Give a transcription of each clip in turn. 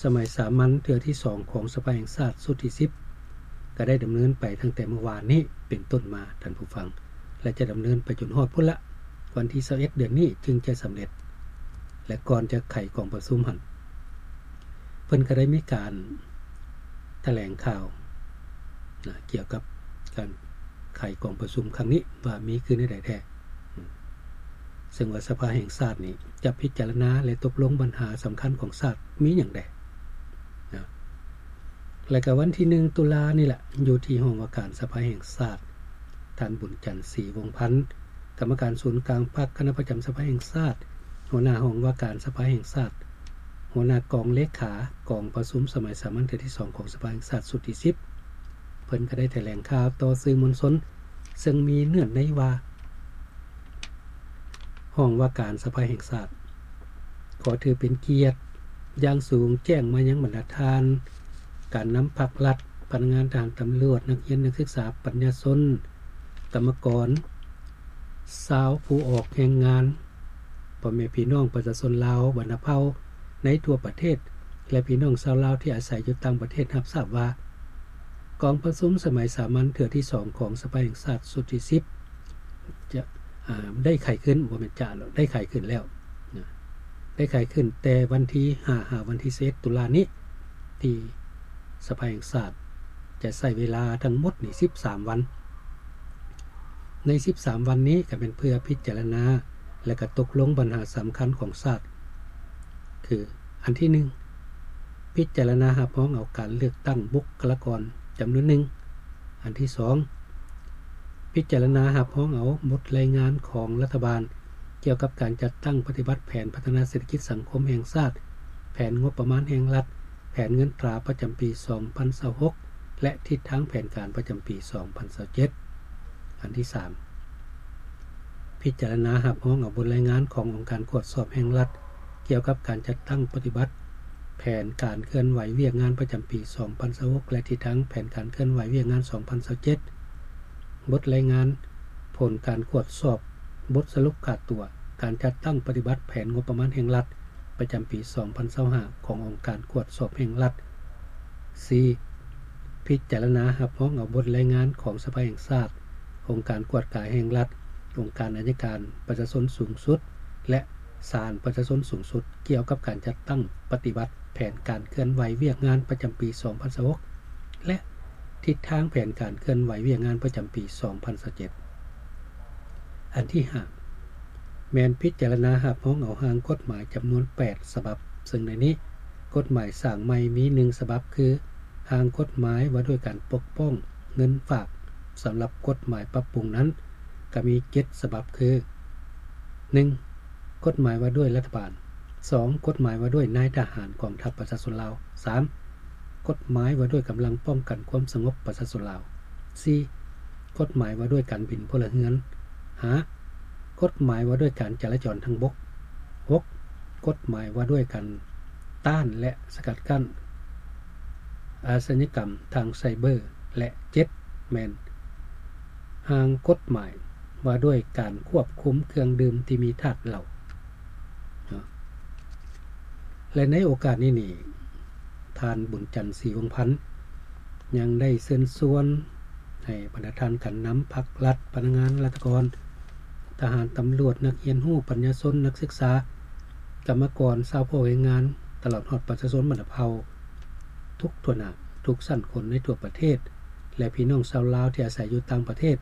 ສະໄໝສາມັນເທື່ອທີສອງຂອງສະພາແຫ່ງຊາດຊຸດທີສິບ ກໍໄດ້ດຳເນີນໄປຕັ້ງແຕ່ມື້ວານນີ້ເປັນຕົ້ນມາ ທ່ານຜູ້ຟັງ ແລະ ຈະດຳເນີນໄປຈົນຮອດພຸ້ນລະ ວັນທີຊາວເອັດເດືອນນີ້ຈຶ່ງຈະສຳເລັດ ແລະ ກ່ອນຈະໄຂກອງປະຊຸມຫັ້ນ ເພິ່ນກໍໄດ້ມີການຖະແຫຼງຂ່າວນະ ກ່ຽວກັບການໄຂກອງປະຊຸມຄັ້ງນີ້ວ່າມີຄືແນວໃດແທ້ ເຊິ່ງວ່າສະພາແຫ່ງຊາດນີ້ຈະພິຈາລະນາ ແລະ ຕົກລົງບັນຫາສຳຄັນຂອງຊາດມີຫຍັງແດ່ນະ. ແລະ ກໍວັນທີໜຶ່ງຕຸລານີ້ແຫຼະ ຢູ່ທີ່ຫ້ອງວ່າການສະພາແຫ່ງຊາດ ທ່ານ ບຸນຈັນ ສີວົງພັນ ກຳມະການສູນກາງພັກ ຄະນະປະຈຳສະພາແຫ່ງຊາດ, ຫົວໜ້າຫ້ອງວ່າການສະພາແຫ່ງຊາດ, ຫົວໜ້າກອງເລຂາກອງປະຊຸມສະໄໝສາມັນເທື່ອທີສອງຂອງສະພາແຫ່ງຊາດຊຸດທີສິບ ເພິ່ນກໍໄດ້ຖະແຫຼງຂ່າວຕໍ່ສື່ມວນຊົນ ເຊິ່ງມີເນື້ອໃນວ່າ ຫ້ອງວ່າການສະພາແຫ່ງຊາດ ຂໍຖືເປັນກຽດຢ່າງສູງ ແຈ້ງມາຍັງບັນດາທ່ານ ການນຳພັກລັດ, ພະນັກງານ, ທະຫານ, ຕຳຫຼວດ, ນັກຮຽນ, ນັກສຶກສາ, ປັນຍາຊົນ, ກຳມະກອນ, ຊາວຜູ້ອອກແຮງງານ, ພໍ່ແມ່ພີ່ນ້ອງປະຊາຊົນລາວບັນດາເຜົ່າໃນທົ່ວປະເທດ ແລະ ພີ່ນ້ອງຊາວລາວທີ່ອາໄສຢູ່ຕ່າງປະເທດ ຮັບຊາບວ່າ ກອງປະຊຸມສະໄໝສາມັນເທື່ອທີສອງຂອງສະພາແຫ່ງຊາດຊຸດທີສິບ ຈະ ອາ ໄດ້ໄຂຂຶ້ນ ບໍ່ແມ່ນຈະ ໄດ້ໄຂຂຶ້ນແລ້ວນະ ໄດ້ໄຂຂຶ້ນແຕ່ວັນທີຫ້າຫາວັນທີຊາວເອັດຕຸລານີ້ ທີ່ສະພາແຫ່ງຊາດຈະໃຊ້ເວລາທັງໝົດນີ້ສິບສາມວັນ. ໃນສິບສາມວັນນີ້ກໍແມ່ນເພື່ອພິຈາລະນາ ແລະ ກໍຕົກລົງບັນຫາສຳຄັນຂອງຊາດ ຄື ອັນທີໜຶ່ງ ພິຈາລະນາຮັບຮອງເອົາການເລືອກຕັ້ງບຸກຄະລາກອນຈຳນວນໜຶ່ງ. ອັນທີສອງ ພິຈາລະນາຮັບຮອງເອົາບົດລາຍງານຂອງລັດຖະບານ ກ່ຽວກັບການຈັດຕັ້ງປະຕິບັດແຜນພັດທະນາເສດຖະກິດສັງຄົມແຫ່ງຊາດ, ແຜນງົບປະມານແຫ່ງລັດ, ແຜນເງິນຕາປະຈຳປີສອງພັນຊາວຫົກ ແລະ ທິດທາງແຜນການປະຈຳປີສອງພັນຊາວເຈັດ. ອັນທີສາມ ພິຈາລະນາຮັບຮອງເອົາບົດລາຍງານຂອງອົງການກວດສອບແຫ່ງລັດ ກ່ຽວກັບການຈັດຕັ້ງປະຕິບັດແຜນການເຄື່ອນໄຫວວຽກງານປະຈຳປີສອງພັນຊາວຫົກ ແລະ ທິດທາງແຜນການເຄື່ອນໄຫວວຽກງານສອງພັນຊາວເຈັດ, ບົດລາຍງານຜົນການກວດສອບ ບົດສະຫຼຸບຂາດຕົວການຈັດຕັ້ງປະຕິບັດແຜນງົບປະມານແຫ່ງລັດ ປະຈຳປີສອງພັນຊາວຫ້າ ຂອງອົງການກວດສອບແຫ່ງລັດ. ສີ່ ພິຈາລະນາຮັບຮອງເອົາບົດລາຍງານຂອງສະພາແຫ່ງຊາດ, ອົງການກວດກາແຫ່ງລັດ, ອົງການໄອຍະການປະຊາຊົນສູງສຸດ ແລະ ສານປະຊາຊົນສູງສຸດ ກ່ຽວກັບການຈັດຕັ້ງປະຕິບັດແຜນການເຄື່ອນໄຫວວຽກງານປະຈຳປີສອງພັນຊາວຫົກ ແລະ ທິດທາງແຜນການເຄື່ອນໄຫວວຽກງານປະຈຳປີສອງພັນຊາວເຈັດ. ອັນທີຫ້າ ແມ່ນພິຈາລະນາຮັບຮອງເອົາຮ່າງກົດໝາຍຈຳນວນແປດສະບັບ, ເຊິ່ງໃນນີ້ ກົດໝາຍສ້າງໃໝ່ມີໜຶ່ງສະບັບ ຄື ຮ່າງກົດໝາຍວ່າດ້ວຍການປົກປ້ອງເງິນຝາກ. ສຳລັບກົດໝາຍປັບປຸງນັ້ນ ກໍມີເຈັດສະບັບ ຄື ໜຶ່ງ ກົດໝາຍວ່າດ້ວຍລັດຖະບານ, ສອງ ກົດໝາຍວ່າດ້ວຍນາຍທະຫານກອງທັບປະຊາຊົນລາວ, ສາມ ກົດໝາຍວ່າດ້ວຍກຳລັງປ້ອງກັນຄວາມສະຫງົບປະຊາຊົນລາວ, ສີ່ ກົດໝາຍວ່າດ້ວຍການບິນພົນລະເຮືອນ, ຫ້າ ກົດໝາຍວ່າດ້ວຍການຈະລາຈອນທາງບົກ, ຫົກ ກົດໝາຍວ່າດ້ວຍການຕ້ານ ແລະ ສະກັດກັ້ນອາຊະຍາກຳທາງໄຊເບີ, ແລະ ເຈັດ ແມ່ນຮ່າງກົດໝາຍວ່າດ້ວຍການຄວບຄຸມເຄື່ອງດື່ມທີ່ມີທາດເຫຼົ້າ. ເນາະ ແລະ ໃນໂອກາດນີ້ນີ້ ທ່ານ ບຸນຈັນ ສີວົງພັນ ຍັງໄດ້ເຊີນຊວນໃຫ້ບັນດາທ່ານການນຳພັກລັດ, ພະນັກງານລັດຖະກອນ, ທະຫານ, ຕຳຫຼວດ, ນັກຮຽນຮູ້, ປັນຍາຊົນ, ນັກສຶກສາ, ກຳມະກອນ, ຊາວພວກແຮງງານ, ຕະຫຼອດຮອດປະຊາຊົນບັນດາເຜົ່າ ທຸກທົ່ວໜ້າ, ທຸກຊັ້ນຄົນໃນທົ່ວປະເທດ ແລະ ພີ່ນ້ອງຊາວລາວທີ່ອາໄສຢູ່ຕ່າງປະເທດ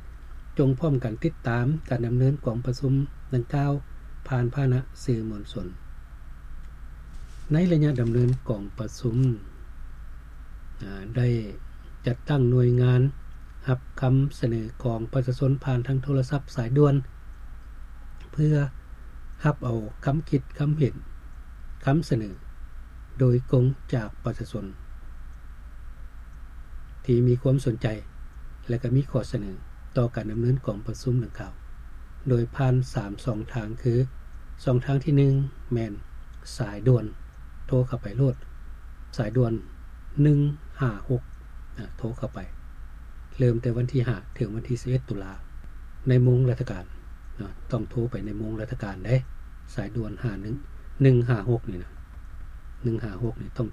ຈົ່ງພ້ອມກັນຕິດຕາມການດຳເນີນກອງປະຊຸມດັ່ງກ່າວ ຜ່ານພາຫະນະສື່ມວນຊົນ. ໃນໄລຍະດຳເນີນກອງປະຊຸມ ອາ ໄດ້ຈັດຕັ້ງໜ່ວຍງານຮັບຄຳສະເໜີຂອງປະຊາຊົນຜ່ານທາງໂທລະສັບສາຍດ່ວນ ເພື່ອຮັບເອົາຄຳຄິດຄຳເຫັນ, ຄຳສະເໜີໂດຍກົງຈາກປະຊາຊົນ ທີ່ມີຄວາມສົນໃຈ ແລະ ກໍມີຂໍ້ສະເໜີຕໍ່ການດຳເນີນກອງປະຊຸມດັ່ງກ່າວ ໂດຍຜ່ານສາມຊ່ອງທາງ ຄື ຊ່ອງທາງທີໜຶ່ງ ແມ່ນສາຍດ່ວນ ໂທເຂົ້າໄປໂລດ ສາຍດ່ວນໜຶ່ງຫ້າຫົກ ນະ ໂທເຂົ້າໄປ ເລີ່ມແຕ່ວັນທີຫ້າ ເຖິງວັນທີສິບເອັດ ຕຸລາ ໃນໂມງລາຊະການ ນະ ຕ້ອງໂທໄປໃນໂມງລາຊະການເດ້ ສາຍດ່ວນຫ້າໜຶ່ງ ໜຶ່ງຫ້າຫົກນີ້ນະ ໜຶ່ງຫ້າຫົກນີ້ຕ້ອງ